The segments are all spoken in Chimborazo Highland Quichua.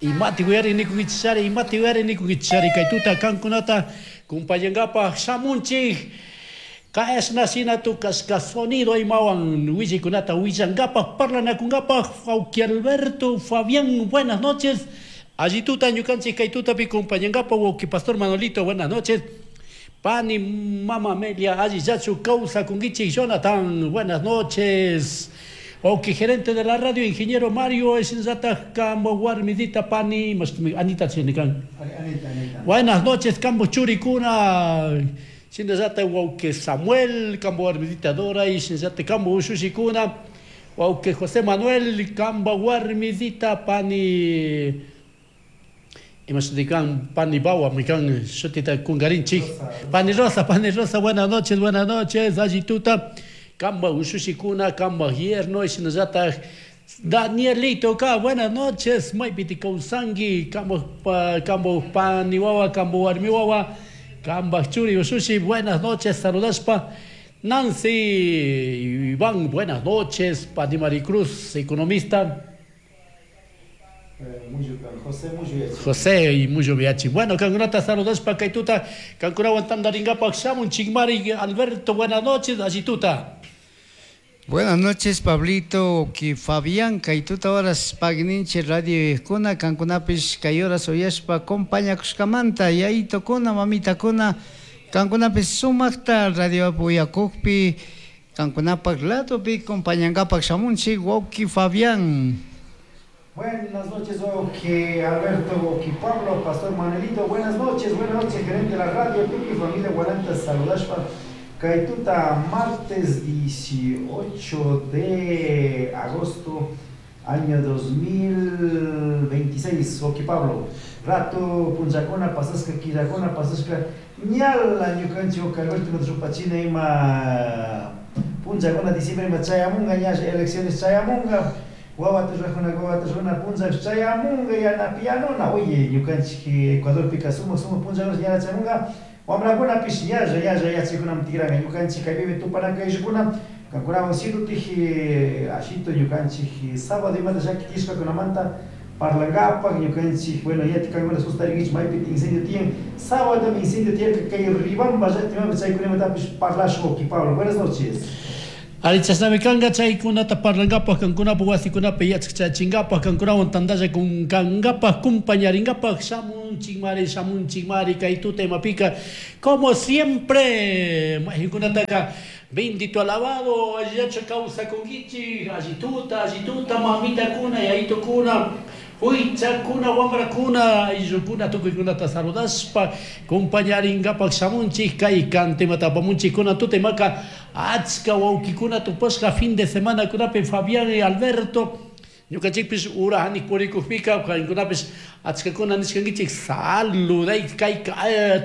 Imati uyari nikunkichishari, imati uyari nikunkichishari, kay tuta kankunata kumpallangapaj shamunchik. Kashna shina tukashka sonido imawan willaykunata willangapaj, parlanakungapaj. Wawki Alberto, Fabián, buenas noches. Alli tuta ñukanchik kay tutapi kumpallangapaj, wawki Pastor Manolito, buenas noches. Pani Mama Amelia, allillachu kawsakunkichik. Jonathan, buenas noches. Wawki gerente de la radio, ingeniero Mario, shinallataj kambo warmidita pani, Anita kan. Anita, Anita. Buenas noches, kambo churikuna. Shinallataj wawki Samuel, kambo warmidita Dora, y shinallataj kambo ushushikuna. Wawki José Manuel, kambo warmidita pani Imashtikan pani bawa mikan shutita kungarinchik. Pani Rosa, Pani Rosa, buenas noches, buenas noches, alli tuta. Kamba ushushikuna, kamba yerno, shinallataj Danielito ka, buenas noches, maypiti kawsanki, kamba kamba pani wawa, kamba warmi wawa, kamba churi ushushi, buenas noches, saludashpa. Nancy Iván, buenas noches, Pani Maricruz, economista. José Muyo José y Muyo Viachi. Bueno, kankunata saludashpa kay tuta, kankunawan tantarinkapak shamun chikmari Alberto, buenas noches, alli tuta. Buenas noches, Pablito, ki Fabián, kay tuta horas pagninchi radio kuna, kankunapish kay horas uyashpa compañakushkamanta, yayitokuna, mamitakuna, kankunapish sumakta radio uyakukpi, kankunapak ladopi compañankapak shamunchik, wawki Fabián. Buenas noches, Oki Alberto, Oki Pablo, Pastor Manuelito. Buenas noches, gerente de la radio, Tuki familia Guaranta, saludashpa. Kay tuta, martes 18 de agosto, año 2026, Oki Pablo. Rato, punchakuna, pasashka, killakuna, pasashka, ñala ñukanchik, Oki Alberto, rupachina ima punchakuna, diciembre ima chayamunga, ña elecciones chayamunga. Wawata rurajuna, wawata rurana puncha chayamunga, yana pianona. Oye, ñukanchik Ecuadorpika sumak sumak punchakuna ñana chayamunga. Wamrakunapish ñalla ñalla yachaykunaman tikranga ñukanchik kaypimi tupanakayllukuna kankunawan sirutik ashito ñukanchik sábado imata llaki tiyashkakunamanta parlankapaq ñukanchik. Bueno, yati kankuna sustarinkichik maypita incendio tiyan. Sábado incendio tiyarka kay Riobamba llaktamanta, chaykunamatapish parlashun, Oki Pablo. Buenas noches. Ari, chashnami kanga chaykunata parlankapaj, kankunapak wasikunapi yachachachinkapak, kankunawan tantalla kankapak, kumpañarinkapak shamunchikmari, shamunchikmari kay tuta imapika. Como siempre, maykunataka bendito, alabado, allillachu kawsakunkichik, alli tuta, alli tuta, mamitakuna, yayitukuna, huichakuna, wamrakuna, ayllukuna, tukuykunata saludashpa kumpañarinkapak shamunchik kay kantimata apamunchik kuna tuta imaka achka wawkikuna tupashka fin de semana kunapi Fabián y Alberto. Ñukanchikpish ura hanik purikukpika kankunapish achkakuna nishkankichik saluday kay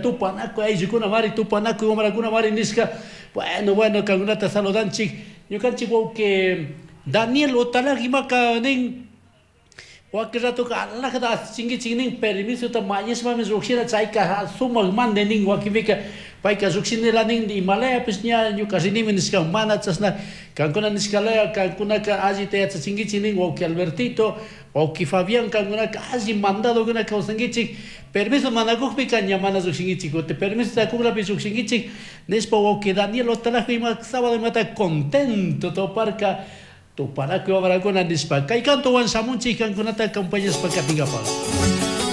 tupanakuy ayllukuna mari, tupanakuy wamrakuna mari nishka. Bueno, bueno, kankunata saludanchik. Ñukanchik wawki Daniel Otalag imaka nin wakin ratoka alajata asichinkichik nin, permisota mañashpami llukshina, chayka sumak mande nin. Wakinpika payka llukshinila nin, imalayapish ña ñuka rinimi nishka, mana chashna kankuna nishkalaya, kankunaka allita yachachinkichik nin. Wawki Albertito, wawki Fabián, kankunaka alli mandadokuna kawsankichik, permiso mana kukpika ña mana llukshinkichik, kutin permiso kuklapi llukshinkichik nishpa. Wawki Daniel Otalajo ima sábado imata contento toparka tupanakuy wamrakuna nishpa kay kantowan shamunchik kankunata acompañashpa katinkapak.